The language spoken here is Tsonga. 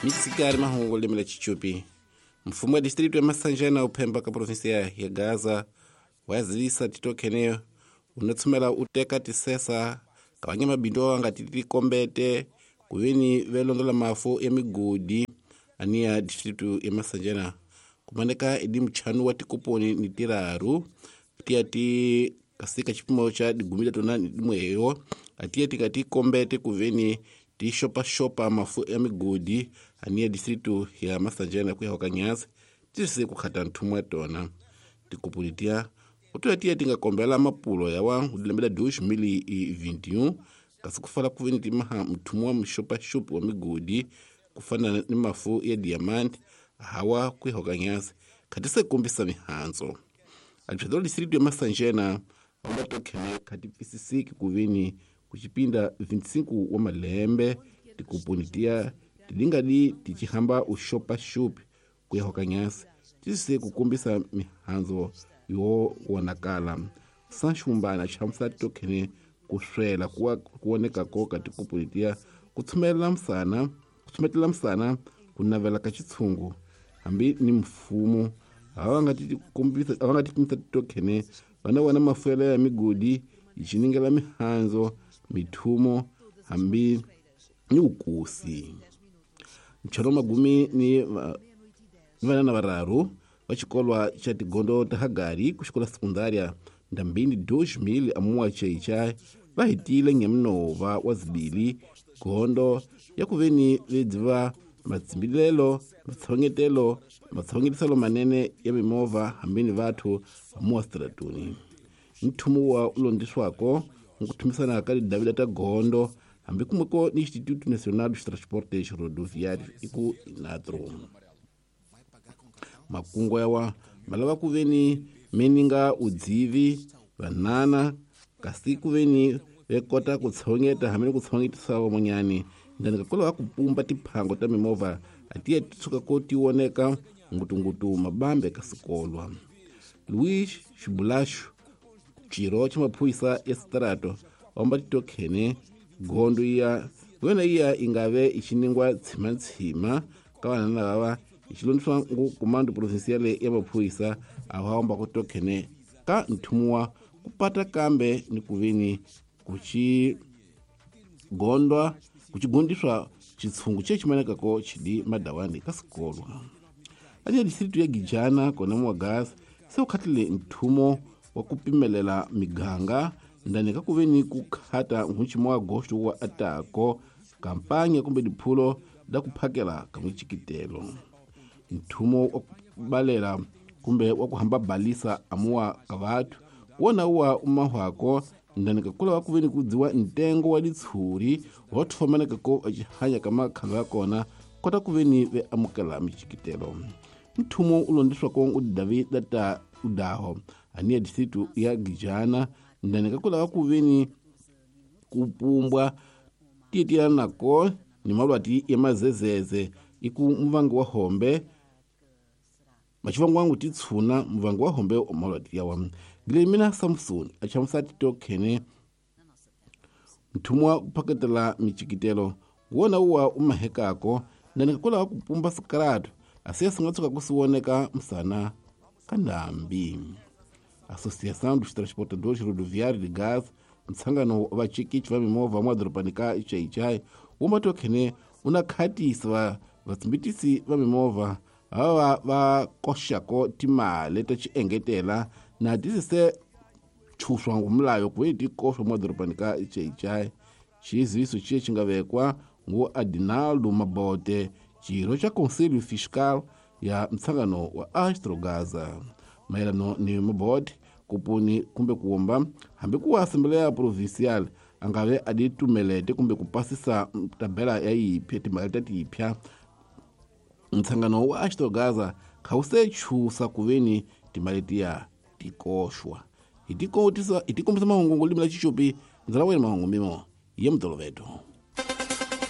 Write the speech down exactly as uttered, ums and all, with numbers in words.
Mitsikari mahungu lemela chichupi. Mfumo wa distrito ya Masanjana uphemba ka provinsia ya Gaza wazivisa titokeneyo unatsumela uteka tisesa kavanya mabindo anga titikombete kuveni velondola mafu ya migodi ania distrito ya Masanjana kumaneka idi mchanu wa tikoponi ni tiraru tia ti kasika chipimo cha digumila tona ni dimweyo atia tikati kombete kuveni ti shopa shopa mafu ya migodi ania distrito ya Masanjana kuya wakanyasi tisi kukhata nthumwa tona tikoponi tia utoya tiya tingakombela mapulo yawa udilembela dois mil e vinte e um kasi kufala kuveni timaha mthumu wa mxopaxopi wa migodi kufana ni mafu ya diamante hawa kuya wakanyasi khatise kumbisa mihandzo administrador distrito ya Masanjena aumatokhene khati pfisisiki kuveni kuchipinda vinte e cinco wa malembe tikoponi tiya tilingadi tichihamba uxopaxopi kuya wakanyasi tise kukumbisa mihandzo yo wonakala sanxumbana xamusa tokhene kuswela kuwa kuoneka koka tikoponi tiya kutshumela msana kutsumetela msana kunavela ka chitshungu hambi ni mfumo awa nga tikombisa awa nga tikumisa tokhene vana wana mafuela ya migodi ichiningela mihandzo mithumo hambi ni ukusi ncharo magumi ni vana na vararu va xikolwa xa tigondo ta Hagari ku xikola sekundaria ndambini dois mil amuwa cheichai va hetile ngemnova wa zibili gondo ya kuveni vedziva matsimbilelo matshongetelo matshongetiselo manene ya mimovha hambini vathu amuwa stratuni nthumo wa ulondiswako nkuthumisana ka tidavila ta gondo hambi kumweko ni Instituto Nacional dos Transportes Rodoviários iku INATRO. Makungu yawa malava kuveni meninga udzivi vanana kasi kuveni vekota kutshongeta hambi kutshongetisa van'wanyani ndani kakola va kupumba tiphango ta mimovha atiya titshuka ko tioneka ngutungutu mabambe ka sikolwa. Luis Xibulaxu xirho xa maphorisa ya Strato wamba titokhene gondo iya yona iya ingave ichiningwa tshimatshima ka vanana lava xilondiswa ngu comando provincial ya maphorisa awamba ku tokhene ka nthumuwa kupata kambe ni kuveni kuchi gondwa kuchigondiswa chitshungu chechimanekako chidi madawani ka sikolwa ania distrito ya Gijana kona muwagasi se ukhatile nthumo wa kupimelela miganga ndani ka kuveni kukhata nhuchimo wa agosto wa atako kampanya kumbe diphulo da kuphakela ka michikitelo nthumo wa kubalela kumbe wa kuhamba balisa amuwa ka vathu wona wa umahwako ndani kakula wa kuveni kudziwa ntengo wa ditshuri wa thomaneka ko hanya ka makhalo ya kona kota kuveni ve amukela michikitelo nthumo ulondiswako u David data udaho ania distrito ya Gijana ndani kakula wa kuveni kupumbwa tietiyana nako ni malwati ya mazezeze iku muvangi wa hombe machivangu wangu titshuna muvangi wa hombe omalwati yawa Guilhermina Samson achamusa titokhene nthumo wa kuphaketela michikitelo wona uwa umahekako ndani kakola wa kupumba sikaratu asiya singatsuka kusiwoneka msana ka ndambi. Associação dos Transportadores Rodoviários de Gás mtsangano wa vachikichi va mimovha mwadorobani ka Ichaichai wumatokhene una khatisa vatsimbitisi va mimovha va va koxako timali ta xiengetela na tisise tshuswa ngumlayo kuveni ti koxwa mwadorobani ka Ichaichai. Xiziviso xi xi nga vekwa ngu Adinaldo Mabote xirho xa Conselho Fiscal ya mtsangano wa Astrogaza mayelano ni Mabote kupuni kumbe kuomba hambi ku Assembleia Provincial angave adi tumelete kumbe kupasisa tabela ya yiphi timali ta tipya mtsangano wa Astrogaza khawuse chusa kuveni timali tiya tikoxwa hi tikotisa hi tikombisa mahungu ngolimi la Chichopi ndzala wena mahungu mimo ya mutoloveto.